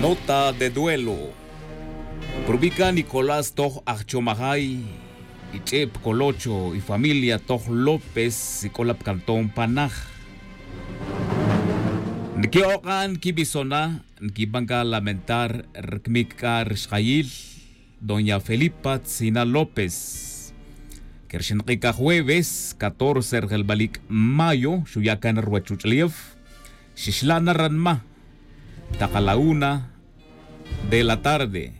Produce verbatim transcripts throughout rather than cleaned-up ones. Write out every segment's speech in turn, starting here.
Nota de duelo. Prubica nicolás toj ajchomajay, ich'e pcolocho ifamilia toj lópez ik'ola pcantón panaj. Nqui'ok'a nquibisona nquiban c'a lamentar rcmic c'a rxjayil doña felipa tzina lópez. Que rxin k'ij c'a jueves catorce rjelbalic' mayo xuya' can ruwech ruch'ulef. Xixla' na ranma tak a la una de la tarde.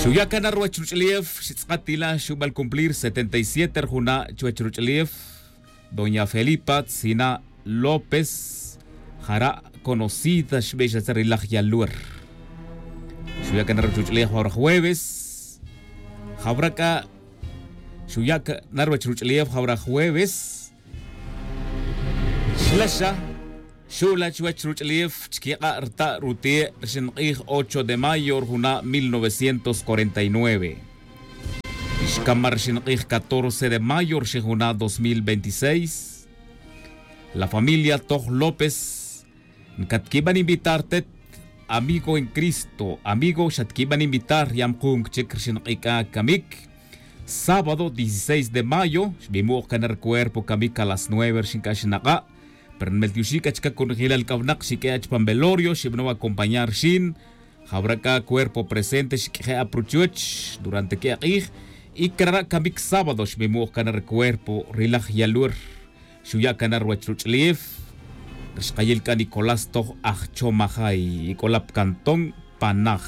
Xuya' can ruwech ruch'ulef xitz'akatila xubal cumplir setenta y siete rjuna' chuwech ruch'ulef. Doña felipa tzina lópez jara' conocida xbe xa tza ri laj yaluer. Xuya' can ruwech ruch'ulef jawra jueves. Jawra c'a xuya' can ruwech ruch'ulef jawra jueves. Xlaxa xu'la chuwech ruch'ulef chquik'a' rta' rute' rxin k'ij ocho de mayo rjuna' mil novecientos cuarenta y nueve. Xcama rxin k'ij catorce de mayo rxin juna' dos mil veintiséis. La familia toj lópez ncatquiban invitar tet amigo en cristo amigo xatquiban invitar yamkun chic rxin k'ij c'a camic. Sábado dieciséis de mayo xbimu'j can rucuerpo camic a las nueve rxin c'a xinak'a'. Pero nmeltioxi' c'a chica conojilal c'a winak xiq'ue' chupan velorio xibanow acompañar rxin. Jawra c'a cuerpo presente xiq'ueje' apruchuch durante que'e k'ij. Y crara' camic sábado xbimu'j can rucuerpo ri laj yaluer. Xuya' can ruwech ruch'ulef. Rxkayil c'a nicolás toj ajchomajay ic'ola pcantón panaj.